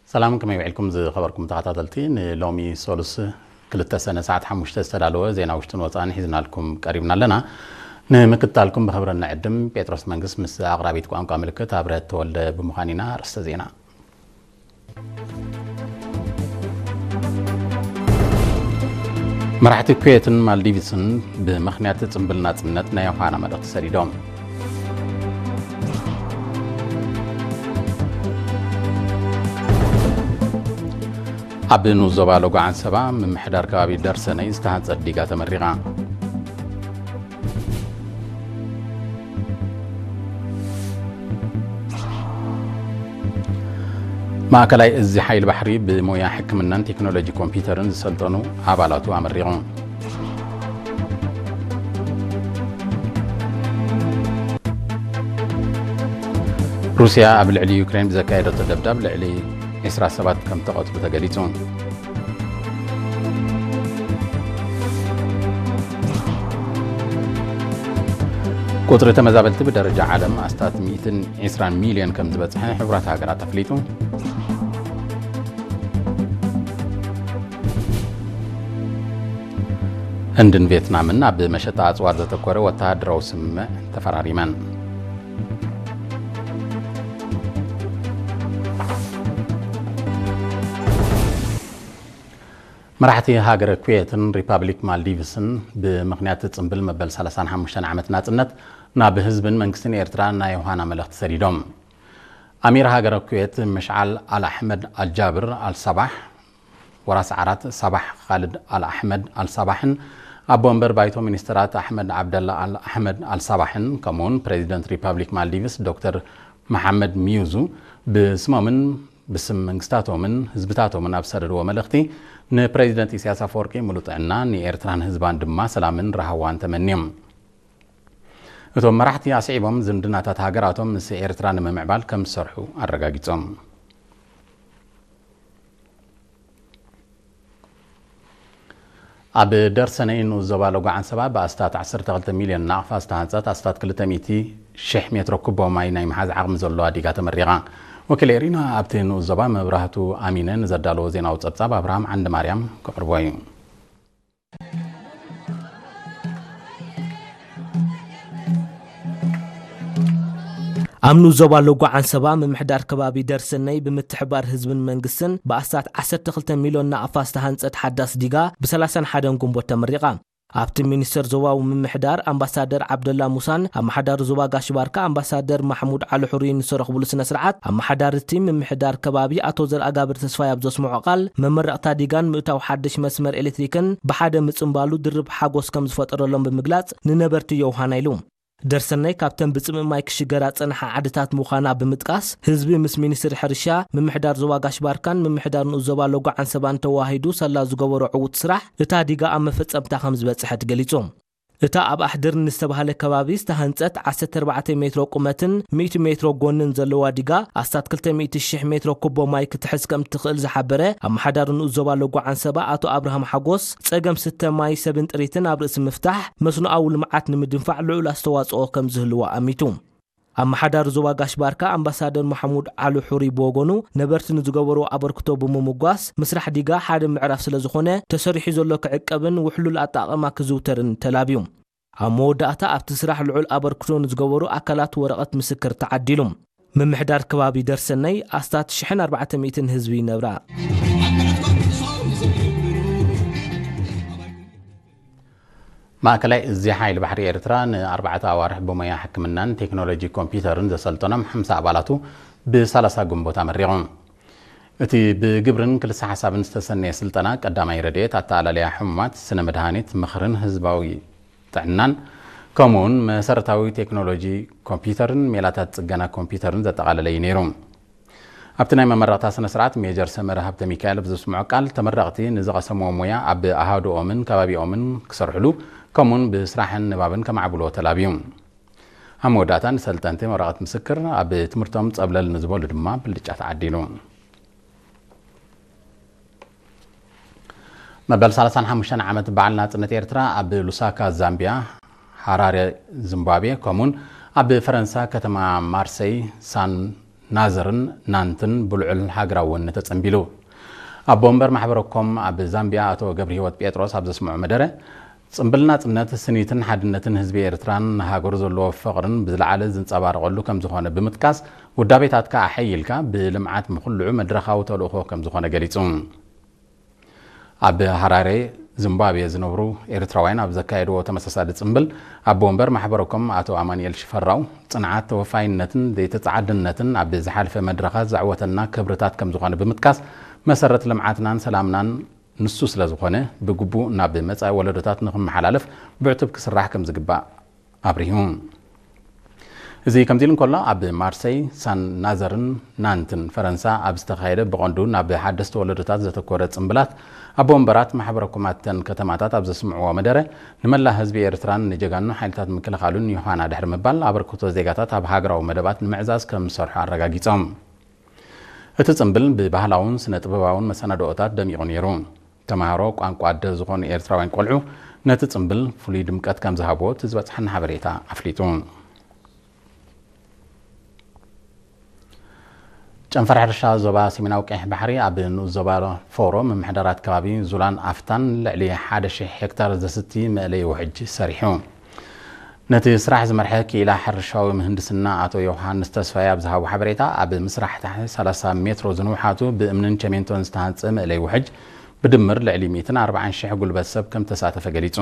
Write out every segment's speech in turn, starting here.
ሰላም፣ ከመይ ውዒልኩም ዝኸበርኩም ተኸታተልቲ? ንሎሚ ሶሉስ ክልተ ሰነ ሰዓት ሓሙሽተ ዝተዳለወ ዜና ውሽጥን ወፃእን ሒዝናልኩም ቀሪብና ኣለና። ንምክትታልኩም ብኽብሪ ንዕድም። ጴጥሮስ መንግስት ምስ ኣቕራቢት ቋንቋ ምልክት ኣብረህት ተወልደ ብምዃን ኢና። ኣርእስተ ዜና። መራሕቲ ኩዌትን ማልዲቭስን ብምኽንያት ጽምብል ናጽነት ናይ ዮሃና መልእኽቲ ሰዲዶም። ኣብ ንኡስ ዞባ ሎጎ ዓንሰባ ምምሕዳር ከባቢ ደርሰነይ ዝተሃንጸት ዲጋ ተመሪቓ። ማእከላይ እዚ ሓይሊ ባሕሪ ብሞያ ሕክምናን ቴክኖሎጂ ኮምፒውተርን ዝሰልጠኑ ኣባላቱ ኣመሪቑ። ሩስያ ኣብ ልዕሊ ዩክሬን ብዘካየደቶ ደብዳብ ልዕሊ ዒስራ ሰባት ከም ተቐትሉ ተገሊጹ። ቁጽሪ ተመዛበልቲ ብደረጃ ዓለም ኣስታት ሚእትን ዒስራን ሚልዮን ከም ዝበጽሐ ሕቡራት ሃገራት ኣፍሊጡ። ህንድን ቬትናምን ኣብ መሸጣ ኣጽዋር ዘተኮረ ወተሃደራዊ ስምምዕ ተፈራሪመን። መራሕቲ ሃገረ ኩዌትን ሪፓብሊክ ማልዲቭስን ብምኽንያት ጽምብል መበል ሰላሳን ሓሙሽተን ዓመት ናጽነት ናብ ህዝብን መንግስትን ኤርትራ ናይ ዮሃና መልእኽቲ ሰዲዶም። ኣሚር ሃገረ ኩዌት መሽዓል ኣል ኣሕመድ ኣልጃብር ኣልሳባሕ፣ ወራስ ዓራት ሳባሕ ኻልድ ኣል ኣሕመድ ኣልሳባሕን ኣቦ ወንበር ባይቶ ሚኒስትራት ኣሕመድ ዓብደላ ኣል ኣሕመድ ኣልሳባሕን ከምኡውን ፕሬዚደንት ሪፓብሊክ ማልዲቭስ ዶክተር መሓመድ ሚዩዙ ብስሞምን ብስም መንግስታቶምን ህዝብታቶምን ኣብ ዝሰደድዎ መልእኽቲ፣ ንፕሬዚደንት ኢሳያስ ኣፈወርቂ ሙሉእ ጥዕና፣ ንኤርትራን ህዝባን ድማ ሰላምን ራህዋን ተመንዮም። እቶም መራሕቲ ኣስዒቦም ዝምድናታት ሃገራቶም ምስ ኤርትራ ንምምዕባል ከም ዝሰርሑ ኣረጋጊጾም። ኣብ ደርሰነይ ንኡስ ዞባ ሎጎ ዓንሰባ ብኣስታት ዓሰርተ ክልተ ሚልዮን ናቕፋ ዝተሃንጸት ኣስታት ክልተ ሚእቲ ሺሕ ሜትሮ ኩቦ ማይ ናይ ምሓዝ ዓቕሚ ዘለዋ ዲጋ ተመሪቓ። ወኪል ኤሪና ኣብቲ ንኡስ ዞባ መብራህቱ ኣሚነ ንዘዳለዎ ዜናዊ ጸብጻብ ኣብርሃም ዓንደ ማርያም ከቕርቦ እዩ። ኣብ ንኡስ ዞባ ሎጎ ዓንሰባ ምምሕዳር ከባቢ ደርሰነይ ብምትሕባር ህዝብን መንግስትን ብኣስታት ዓሰርተ ክልተ ሚልዮን ናቕፋ ዝተሃንጸት ሓዳስ ዲጋ ብ ሰላሳን ሓደን ግንቦት ተመሪቓ። ኣብቲ ሚኒስተር ዞባዊ ምምሕዳር ኣምባሳደር ዓብደላ ሙሳን ኣመሓዳሪ ዞባ ጋሽ ባርካ ኣምባሳደር ማሕሙድ ዓሊ ሑሪን ዝተረኽብሉ ስነ ስርዓት፣ ኣመሓዳሪ እቲ ምምሕዳር ከባቢ ኣቶ ዘርኣጋብር ተስፋይ ኣብ ዘስምዖ ቃል፣ መመረቕታ ዲጋን ምእታው ሓድሽ መስመር ኤሌክትሪክን ብሓደ ምጽንባሉ ድርብ ሓጎስ ከም ዝፈጠረሎም ብምግላጽ፣ ንነበርቲ ዮውሃና ኢሉ። ደርሰናይ ካብተን ብጽምእ ማይ ክሽገራ ዝጸንሓ ዓድታት ምዃና ብምጥቃስ፣ ህዝቢ ምስ ሚኒስትሪ ሕርሻ፣ ምምሕዳር ዞባ ጋሽ ባርካን ምምሕዳር ንኡስ ዞባ ሎጎ ዓንሰባን ተዋሂዱ ሳላ ዝገበሮ ዕዉት ስራሕ፣ እታ ዲጋ ኣብ መፈጸምታ ከም ዝበጽሐት ገሊጹ። እታ ኣብ ኣሕድር ንዝተባህለ ከባቢ ዝተሃንጸት ዓሰርተ ኣርባዕተ ሜትሮ ቁመትን ሚእቲ ሜትሮ ጎንን ዘለዋ ዲጋ፣ ኣስታት ክልተ ሚእቲ ሺሕ ሜትሮ ኩቦ ማይ ክትሕዝ ከም እትኽእል ዝሓበረ ኣመሓዳሪ ንኡስ ዞባ ሎጎ ዓንሰባ ኣቶ ኣብርሃም ሓጎስ፣ ጸገም ስተ ማይ፣ ሰብን ጥሪትን ኣብ ርእሲ ምፍታሕ፣ መስኖኣዊ ልምዓት ንምድንፋዕ ልዑል ኣስተዋጽኦ ከም ዝህልዎ ኣሚቱ። ኣመሓዳሪ ዞባ ጋሽ ባርካ ኣምባሳደር መሓሙድ ዓሊ ሑሪ ብወገኑ፣ ነበርቲ ንዝገበርዎ ኣበርክቶ ብምምጓስ፣ ምስራሕ ዲጋ ሓደ ምዕራፍ ስለ ዝኾነ፣ ተሰሪሑ ዘሎ ክዕቀብን ውሕሉል ኣጠቓቕማ ክዝውተርን ተላብዩ። ኣብ መወዳእታ፣ ኣብቲ ስራሕ ልዑል ኣበርክቶ ንዝገበሩ ኣካላት ወረቐት ምስክር ተዓዲሉ። ምምሕዳር ከባቢ ደርሰነይ ኣስታት ሽሕን ኣርባዕተ ሚእትን ህዝቢ ይነብራ። ማእከላይ እዚ ሓይሊ ባሕሪ ኤርትራ ንኣርባዕተ ኣዋርሕ ብሞያ ሕክምናን ቴክኖሎጂ ኮምፒውተርን ዘሰልጠኖም ሓምሳ ኣባላቱ ብሰላሳ ግንቦት ኣመሪቑ። እቲ ብግብርን ክልሰ ሓሳብን ዝተሰነየ ስልጠና ቀዳማይ ረድኤት፣ ኣተኣላለያ ሕሙማት፣ ስነ መድሃኒት፣ ምኽርን ህዝባዊ ጥዕናን፣ ከምኡውን መሰረታዊ ቴክኖሎጂ ኮምፒውተርን ሜላታት ጽገና ኮምፒውተርን ዘጠቓለለ እዩ ነይሩ። ኣብቲ ናይ መመረቕታ ስነ ስርዓት ሜጀር ሰመረ ሃብተ ሚካኤል ኣብ ዘስምዖ ቃል፣ ተመረቕቲ ንዝቐሰምዎ ሞያ ኣብ ኣሃዱኦምን ከባቢኦምን ክሰርሕሉ፣ ከምኡውን ብስራሕን ንባብን ከማዕብልዎ ተላብዩ። ኣብ መወዳእታ ንሰልጠንቲ ወረቐት ምስክር፣ ኣብ ትምህርቶም ጸብለል ንዝበሉ ድማ ብልጫ ተዓዲሉ። መበል ሰላሳን ሓሙሽተን ዓመት በዓል ናጽነት ኤርትራ ኣብ ሉሳካ ዛምቢያ፣ ሃራሬ ዚምባብዌ፣ ከምኡን ኣብ ፈረንሳ ከተማ ማርሰይ ሳን ናዘርን ናንትን ብልዑል ሃገራዊ ወኒ ተጸንቢሉ። ኣቦ ወንበር ማሕበረ ኮም ኣብ ዛምቢያ ኣቶ ገብረህይወት ጴጥሮስ ኣብ ዘስምዖ መደረ፣ ጽምብል ናጽነት ስኒትን ሓድነትን ህዝቢ ኤርትራን ንሃገሩ ዘለዎ ፍቕርን ብዝለዓለ ዝንጸባረቐሉ ከም ዝኾነ ብምጥቃስ፣ ውዳቤታትካ ኣሐይልካ ብልምዓት ምኹልዑ መድረኻዊ ተልእኾ ከም ዝኾነ ገሊጹ። ኣብ ሃራሬ ዚምባብዌ ዝነብሩ ኤርትራውያን ኣብ ዘካየድዎ ተመሳሳሊ ጽምብል፣ ኣቦ ወንበር ማሕበረ ኮም ኣቶ ኣማኑኤል ሽፈራው፣ ጽንዓት፣ ተወፋይነትን ዘይተጻዓድነትን ኣብ ዝሓለፈ መድረኻት ዘዕወተልና ክብርታት ከም ዝኾነ ብምጥቃስ፣ መሰረት ልምዓትናን ሰላምናን ንሱ ስለ ዝኾነ፣ ብግቡእ ናብ መጻኢ ወለዶታት ንኽመሓላለፍ ብዕቱብ ክስራሕ ከም ዝግባእ ኣብሪሁ። እዚ ከምዚ ኢሉ እንከሎ፣ ኣብ ማርሰይ፣ ሳን ናዘርን ናንትን ፈረንሳ ኣብ ዝተኻየደ ብቐንዱ ናብ ሓደስቲ ወለዶታት ዘተኮረ ጽምብላት፣ ኣቦ ወንበራት ማሕበረ ኮም ኣብተን ከተማታት ኣብ ዘስምዕዎ መደረ፣ ንመላእ ህዝቢ ኤርትራን ንጀጋኑ ሓይልታት ምክልኻሉን ዮሃና ድሕሪ ምባል፣ ኣበርክቶ ዜጋታት ኣብ ሃገራዊ መደባት ንምዕዛዝ ከም ዝሰርሑ ኣረጋጊጾም። እቲ ጽምብል ብባህላውን ስነ ጥበባውን መሰናድኦታት ደሚቑ ነይሩ። ተማሃሮ ቋንቋ ኣደ ዝኾኑ ኤርትራውያን ቆልዑ ነቲ ጽምብል ፍሉይ ድምቀት ከም ዝሃብዎ እቲ ዝበጽሓና ሓበሬታ ኣፍሊጡ። ጨንፈር ሕርሻ ዞባ ሰሜናዊ ቀይሕ ባሕሪ ኣብ ንኡስ ዞባ ፎሮ ምምሕዳራት ከባቢ ዙላን ኣፍታን ልዕሊ ሓደ ሺሕ ሄክታር ዘስቲ መእለዪ ውሕጅ ሰሪሑ። ነቲ ስራሕ ዝመርሐ ክኢላ ሕርሻዊ ምህንድስና ኣቶ ዮሃንስ ተስፋይ ኣብ ዝሃቦ ሓበሬታ፣ ኣብ ምስራሕ ታሕቲ ሰላሳ ሜትሮ ዝንውሓቱ ብእምንን ቸሜንቶን ዝተሃንጸ መእለይ ውሕጅ ብድምር ልዕሊ ሚእትን ኣርባዓን ሽሕ ጉልበት ሰብ ከም ተሳተፈ ገሊጹ።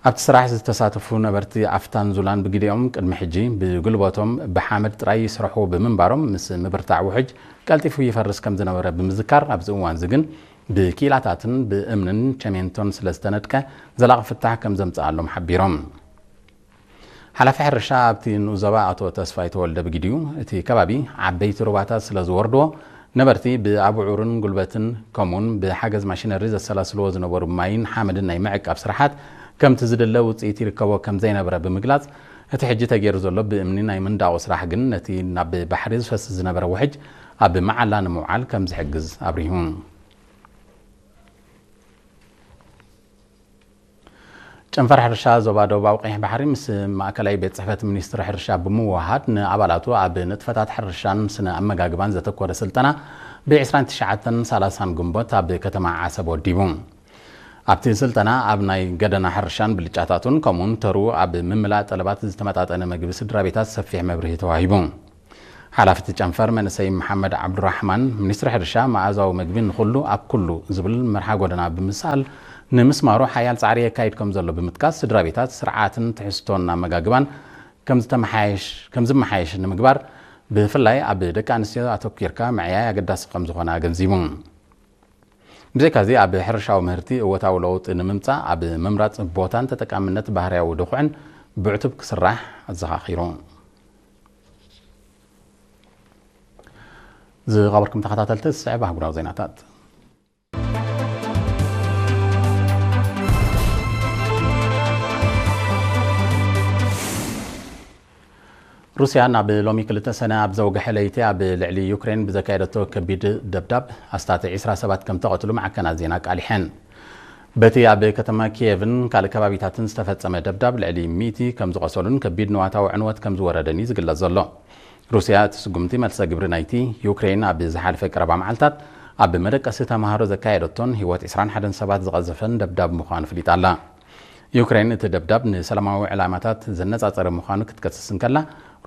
ኣብቲ ስራሕ ዝተሳተፉ ነበርቲ ኣፍታን ዙላን ብግዲኦም ቅድሚ ሕጂ ብጉልበቶም ብሓመድ ጥራይ ይስርሑ ብምንባሮም፣ ምስ ምብርታዕ ውሕጅ ቀልጢፉ ይፈርስ ከም ዝነበረ ብምዝካር፣ ኣብዚ እዋን እዚ ግን ብኪኢላታትን ብእምንን ቸሜንቶን ስለ ዝተነድቀ ዘላቒ ፍታሕ ከም ዘምጽኣሎም ሓቢሮም። ሓላፊ ሕርሻ ኣብቲ ንኡስ ዞባ ኣቶ ተስፋይ ተወልደ ብግዲኡ፣ እቲ ከባቢ ዓበይቲ ሩባታት ስለ ዝወርድዎ፣ ነበርቲ ብኣቡዑርን ጉልበትን ከምኡውን ብሓገዝ ማሽነሪ ዘሰላስልዎ ዝነበሩ ማይን ሓመድን ናይ ምዕቃብ ስራሓት ከምቲ ዝድለ ውጽኢት ይርከቦ ከም ዘይነበረ ብምግላጽ፣ እቲ ሕጂ ተገይሩ ዘሎ ብእምኒ ናይ ምንዳቑ ስራሕ ግን ነቲ ናብ ባሕሪ ዝፈስስ ዝነበረ ውሕጅ ኣብ መዓላ ንምውዓል ከም ዝሕግዝ ኣብሪሁ። ጨንፈር ሕርሻ ዞባ ደቡባዊ ቀይሕ ባሕሪ ምስ ማእከላይ ቤት ጽሕፈት ሚኒስትሪ ሕርሻ ብምውሃድ ንኣባላቱ ኣብ ንጥፈታት ሕርሻን ስነ ኣመጋግባን ዘተኮረ ስልጠና ብ ዕስራን ትሽዓተን ሰላሳን ግንቦት ኣብ ከተማ ዓሰብ ወዲቡ። ኣብቲ ስልጠና ኣብ ናይ ገደና ሕርሻን ብልጫታቱን ከምኡውን ተሩ ኣብ ምምላእ ጠለባት ዝተመጣጠነ ምግቢ ስድራ ቤታት ሰፊሕ መብርሂ ተዋሂቡ። ሓላፊ እቲ ጨንፈር መንእሰይ መሓመድ ዓብዱራሕማን፣ ሚኒስትሪ ሕርሻ መኣዛዊ ምግቢ ንኹሉ ኣብ ኩሉ ዝብል መርሃ ጎደና ብምስኣል ንምስማሩ ሓያል ጻዕሪ የካይድ ከም ዘሎ ብምጥቃስ፣ ስድራ ቤታት ስርዓትን ትሕዝቶን ኣመጋግባን ከም ዝተመሓየሽ-፣ ከም ዝመሓየሽ ንምግባር ብፍላይ ኣብ ደቂ ኣንስትዮ ኣተኲርካ ምዕያይ ኣገዳሲ ከም ዝኾነ ኣገንዚቡ። ብዘይካዚ ኣብ ሕርሻዊ ምህርቲ እወታዊ ለውጢ ንምምጻእ ኣብ ምምራጽ ቦታን ተጠቃምነት ባህርያዊ ድኹዕን ብዕቱብ ክስራሕ ኣዘኻኺሩ። ዝኸበርኩም ተኸታተልቲ፣ ዝስዕብ ኣህጉራዊ ዜናታት። ሩስያ ናብ ሎሚ ክልተ ሰነ ኣብ ዘውግሐ ለይቲ ኣብ ልዕሊ ዩክሬን ብዘካየደቶ ከቢድ ደብዳብ ኣስታት ዕስራ ሰባት ከም ተቐትሉ ማዕከናት ዜና ኣቃሊሐን። በቲ ኣብ ከተማ ኪየቭን ካልእ ከባቢታትን ዝተፈጸመ ደብዳብ ልዕሊ ሚእቲ ከም ዝቖሰሉን ከቢድ ንዋታዊ ዕንወት ከም ዝወረደን እዩ ዝግለጽ ዘሎ። ሩስያ እቲ ስጉምቲ መልሰ ግብሪ ናይቲ ዩክሬን ኣብ ዝሓለፈ ቀረባ መዓልታት ኣብ መደቀሲ ተማሃሮ ዘካየደቶን ህይወት ዕስራን ሓደን ሰባት ዝቐዘፈን ደብዳብ ምዃኑ ፍሊጣ ኣላ። ዩክሬን እቲ ደብዳብ ንሰላማዊ ዕላማታት ዘነጻጸረ ምዃኑ ክትከስስ እንከላ፣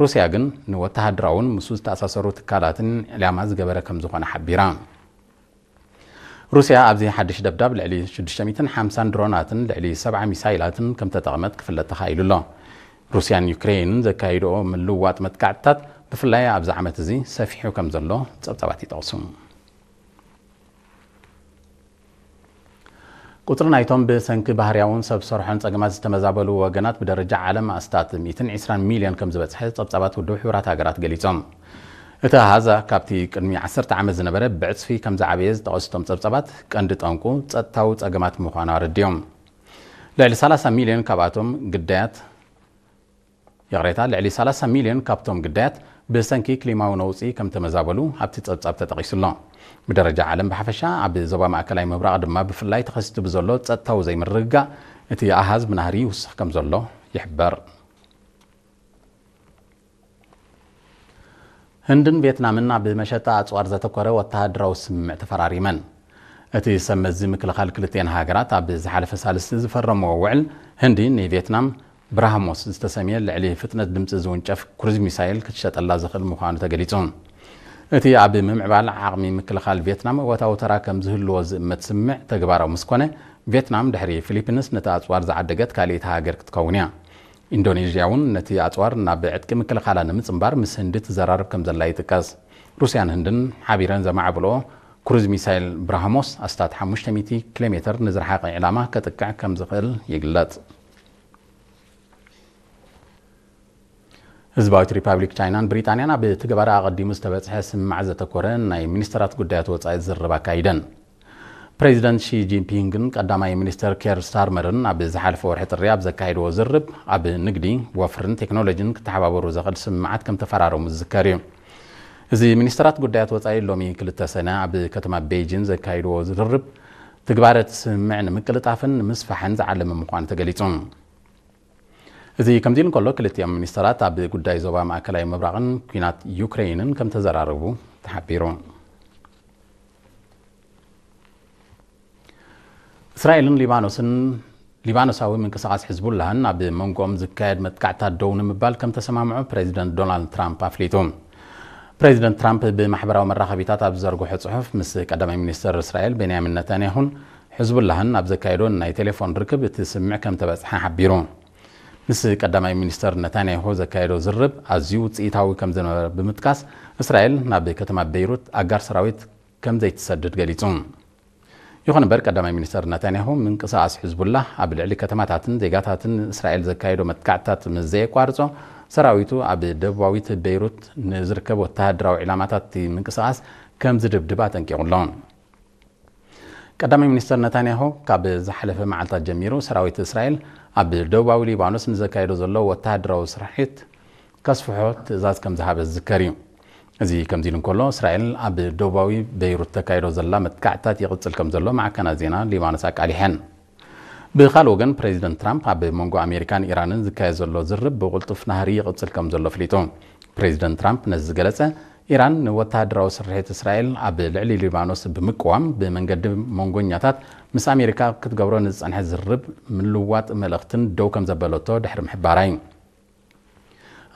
ሩስያ ግን ንወተሃደራውን ምስኡ ዝተኣሳሰሩ ትካላትን ዕላማ ዝገበረ ከም ዝኾነ ሓቢራ። ሩስያ ኣብዚ ሓድሽ ደብዳብ ልዕሊ ሽዱሽተ ሚእትን ሓምሳን ድሮናትን ልዕሊ ሰብዓ ሚሳይላትን ከም ተጠቕመት ክፍለጥ ተኻኢሉ ኣሎ። ሩስያን ዩክሬንን ዘካይድኦ ምልውዋጥ መጥቃዕትታት ብፍላይ ኣብዚ ዓመት እዚ ሰፊሑ ከም ዘሎ ጸብጻባት ይጠቕሱ። ቁጽሪ ናይቶም ብሰንኪ ባህርያውን ሰብ ሰርሖን ጸገማት ዝተመዛበሉ ወገናት ብደረጃ ዓለም ኣስታት ሚእትን ዕስራን ሚልዮን ከም ዝበጽሐ ጸብጻባት ውድብ ሕቡራት ሃገራት ገሊጾም። እቲ ኣሃዝ ካብቲ ቅድሚ ዓሰርተ ዓመት ዝነበረ ብዕጽፊ ከም ዝዓበየ ዝጠቐሱ እቶም ጸብጻባት፣ ቀንዲ ጠንቁ ጸጥታዊ ጸገማት ምዃኑ ኣረዲኦም። ልዕሊ ሰላሳ ሚልዮን ካብኣቶም ግዳያት፣ ይቕሬታ፣ ልዕሊ ሰላሳ ሚልዮን ካብቶም ግዳያት ብሰንኪ ክሊማዊ ነውጺ ከም ተመዛበሉ ኣብቲ ጸብጻብ ተጠቒሱ ኣሎ። ብደረጃ ዓለም ብሓፈሻ፣ ኣብ ዞባ ማእከላይ ምብራቕ ድማ ብፍላይ ተኸሲቱ ብዘሎ ጸጥታዊ ዘይምርግጋእ፣ እቲ ኣሃዝ ብናህሪ ይውስኽ ከም ዘሎ ይሕበር። ህንድን ቬትናምን ኣብ መሸጣ ኣጽዋር ዘተኮረ ወተሃደራዊ ስምምዕ ተፈራሪመን። እቲ ሰብ መዚ ምክልኻል ክልቲኤን ሃገራት ኣብ ዝሓለፈ ሳልስቲ ዝፈረምዎ ውዕል፣ ህንዲ ንቬትናም ብራህሞስ ዝተሰምየ ልዕሊ ፍጥነት ድምጺ ዝውንጨፍ ክሩዝ ሚሳይል ክትሸጠላ ዝኽእል ምዃኑ ተገሊጹ። እቲ ኣብ ምምዕባል ዓቕሚ ምክልኻል ቬትናም እወታዊ ተራ ከም ዝህልዎ ዝእመት ስምምዕ ተግባራዊ ምስ ኮነ፣ ቬትናም ድሕሪ ፊሊፒንስ ነቲ ኣጽዋር ዝዓደገት ካልኣይቲ ሃገር ክትከውን እያ። ኢንዶኔዥያ እውን ነቲ ኣጽዋር ናብ ዕጥቂ ምክልኻላ ንምጽንባር ምስ ህንዲ ትዘራረብ ከም ዘላ ይጥቀስ። ሩስያን ህንድን ሓቢረን ዘማዕብልኦ ክሩዝ ሚሳይል ብራህሞስ ኣስታት ሓሙሽተ ሚእቲ ኪሎ ሜትር ንዝረሓቐ ዕላማ ከጥቅዕ ከም ዝኽእል ይግለጽ። ህዝባዊት ሪፓብሊክ ቻይናን ብሪጣንያን ኣብ ትግባረ ኣቐዲሙ ዝተበጽሐ ስምማዕ ዘተኮረ ናይ ሚኒስተራት ጉዳያት ወጻኢ ዝርርብ ኣካይደን። ፕሬዚደንት ሺ ጂንፒንግን ቀዳማይ ሚኒስተር ኬር ስታርመርን ኣብ ዝሓለፈ ወርሒ ጥሪ ኣብ ዘካየድዎ ዝርብ፣ ኣብ ንግዲ፣ ወፍርን ቴክኖሎጂን ክተሓባበሩ ዘኽእል ስምምዓት ከም ተፈራረሙ ዝዝከር እዩ። እዚ ሚኒስተራት ጉዳያት ወጻኢ ሎሚ ክልተ ሰነ ኣብ ከተማ ቤይጂን ዘካየድዎ ዝርርብ፣ ትግባረ እቲ ስምምዕ ንምቅልጣፍን ንምስፋሕን ዝዓለመ ምዃኑ ተገሊጹ። እዚ ከምዚ ኢሉ እንከሎ፣ ክልቲኦም ሚኒስተራት ኣብ ጉዳይ ዞባ ማእከላይ ምብራቕን ኲናት ዩክሬይንን ከም ተዘራረቡ ተሓቢሩ። እስራኤልን ሊባኖስን፣ ሊባኖሳዊ ምንቅስቓስ ሕዝቡላህን ኣብ መንጎኦም ዝካየድ መጥቃዕታት ደው ንምባል ከም ተሰማምዑ ፕሬዚደንት ዶናልድ ትራምፕ ኣፍሊጡ። ፕሬዚደንት ትራምፕ ብማሕበራዊ መራኸቢታት ኣብ ዝዘርግሖ ጽሑፍ፣ ምስ ቀዳማይ ሚኒስተር እስራኤል ቤንያሚን ነታንያሁን ሕዝቡላህን ኣብ ዘካየዶ ናይ ቴሌፎን ርክብ እቲ ስምምዕ ከም ተበጽሐ ሓቢሩ። ምስ ቀዳማይ ሚኒስተር ነታንያሁ ዘካየዶ ዝርብ ኣዝዩ ውጽኢታዊ ከም ዝነበረ ብምጥቃስ፣ እስራኤል ናብ ከተማ ቤይሩት ኣጋር ሰራዊት ከም ዘይትሰድድ ገሊጹ። ይኹን እምበር፣ ቀዳማይ ሚኒስተር ነታንያሁ ምንቅስቓስ ሕዝቡላህ ኣብ ልዕሊ ከተማታትን ዜጋታትን እስራኤል ዘካየዶ መጥቃዕትታት ምስ ዘየቋርጾ፣ ሰራዊቱ ኣብ ደቡባዊት ቤይሩት ንዝርከብ ወተሃደራዊ ዒላማታት እቲ ምንቅስቓስ ከም ዝድብድብ ኣጠንቂቑ ኣሎ። ቀዳማይ ሚኒስተር ነታንያሁ፣ ካብ ዝሓለፈ መዓልታት ጀሚሩ ሰራዊት እስራኤል ኣብ ደቡባዊ ሊባኖስ ንዘካየዶ ዘሎ ወተሃደራዊ ስርሒት ከስፍሖ ትእዛዝ ከም ዝሃበ ዝዝከር እዩ። እዚ ከምዚ ኢሉ እንከሎ፣ እስራኤል ኣብ ደቡባዊ ቤይሩት ተካይዶ ዘላ መጥቃዕትታት ይቕጽል ከም ዘሎ ማዕከናት ዜና ሊባኖስ ኣቃሊሐን። ብኻልእ ወገን፣ ፕሬዚደንት ትራምፕ ኣብ መንጎ ኣሜሪካን ኢራንን ዝካየድ ዘሎ ዝርብ ብቕልጡፍ ናህሪ ይቕጽል ከም ዘሎ ኣፍሊጡ። ፕሬዚደንት ትራምፕ ነዚ ዝገለጸ፣ ኢራን ንወተሃደራዊ ስርሒት እስራኤል ኣብ ልዕሊ ሊባኖስ ብምቅዋም፣ ብመንገዲ መንጎኛታት ምስ ኣሜሪካ ክትገብሮ ንዝጸንሐ ዝርብ ምልዋጥ መልእኽትን ደው ከም ዘበለቶ ድሕሪ ምሕባራ እዩ።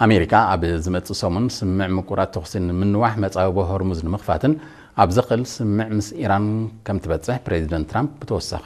ኣሜሪካ ኣብ ዝመጽእ ሰሙን ስምምዕ ምቁራጽ ተኹሲ ንምንዋሕ፣ መጻብቦ ሆርሙዝ ንምኽፋትን ኣብ ዘኽእል ስምምዕ ምስ ኢራን ከም ትበጽሕ ፕሬዚደንት ትራምፕ ብተወሳኺ